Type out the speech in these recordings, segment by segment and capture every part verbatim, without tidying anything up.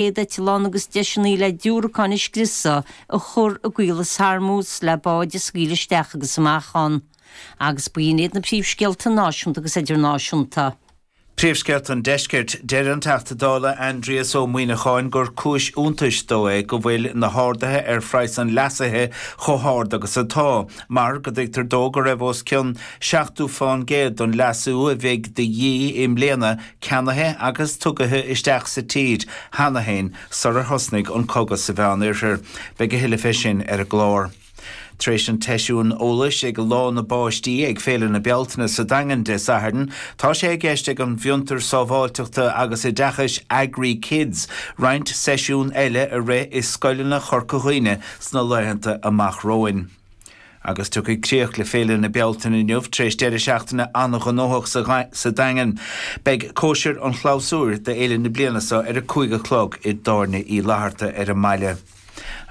chéad eitleán agus deiseanna le diúracáin a scriosadh a chur i gCaolas Hormuz le báid a scaoileadh isteach agus amach ann. Agus b'in iad na príomhscéalta náisiúnta agus idirnáisiúnta. Príomhscéalta an Deiscirt deir an Teachta Dála Aindrias Ó Muimhneacháin gur cúis iontais dó é go bhfuil na harduithe ar phraghas an leasaithe chomh hard agus atá, mar go dtuigtear dó go raibh os cionn seachtó faoin gcéad don leasú a bheidh de dhíth i mbliana ceannaithe agus tugtha isteach sa tír cheana féin sular thosnaigh an cogadh sa Mheánoirthear. Beidh a thuilleadh fé sin ar an gclár. Tar éis an tseisiúin eolais ag Lá na bPáistí ag Féile na Bealtaine sa Daingean Dé Sathairn, tá sé i gceist ag an bhfiontar sábháilteachta agus oideachais Agri Kids roinnt seisiún eile a rith i scoileanna Chorca Dhuibhne sna laethanta amach romhainn. Agus tiocfaidh críoch le Féile na Bealtaine inniu tar éis deireadh seachtaine an-ghnóthach sa Daingean. Beidh cóisir an chlabhsúir d'fhéile na bliana seo ar a cúig a chlog i dTábhairne Uí Fhlatharta ar an mbaile.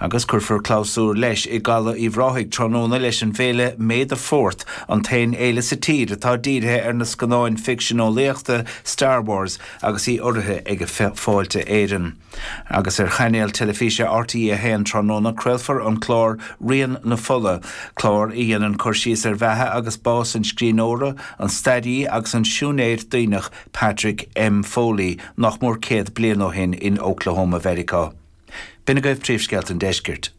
Agus cuirfear clabhsúr leis i gCaladh Uíbh Ráthaigh tráthnóna leis an bhféile May the Fourth, an t-aon fhéile sa tír atá dírithe ar na scannáin ficsean-eolaíochta Star Wars agus í urraithe ag Fáilte Éireann. Agus ar chainéal teilifíse RTÉ a haon tráthnóna craolfar an clár Rian na Fola, clár a dhéanann cur síos ar bheatha agus bás an scríbhneora, an staraí agus an siúinéir daonach Patrick M. Foley nach mór céad bliain ó shin in Oklahoma Mheiriceá. B'in agaibh príomhscéalta an Deiscirt.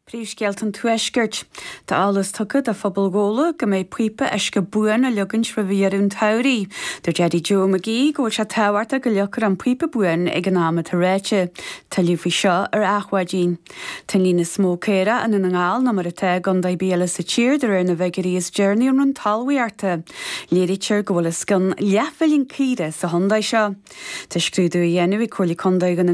Príomhscéalta an Tuaiscirt. Tá eolas tugtha do phobal Ghabhla go mbeidh píopa uisce buan á leagaint roimh dheireadh an tsamhraidh. Dúirt Eddie Joe McGee go bhfuil sé tábhachtach go leagfar an píopa buan ag an am atá ráite. Tuilleadh faoi seo ar Adhmhaidin. Tá an líon is mó caorach i nDún na nGall ná mar atá i gcontae ar bith eile sa tír de réir na bhfigiúirí is deireanaí ón Roinn Talmhaíochta. Léirítear go bhfuil os cionn leathmhilliún caora sa chontae seo. Tá scrúdú á dhéanamh ag Comhairle Contae Dhún na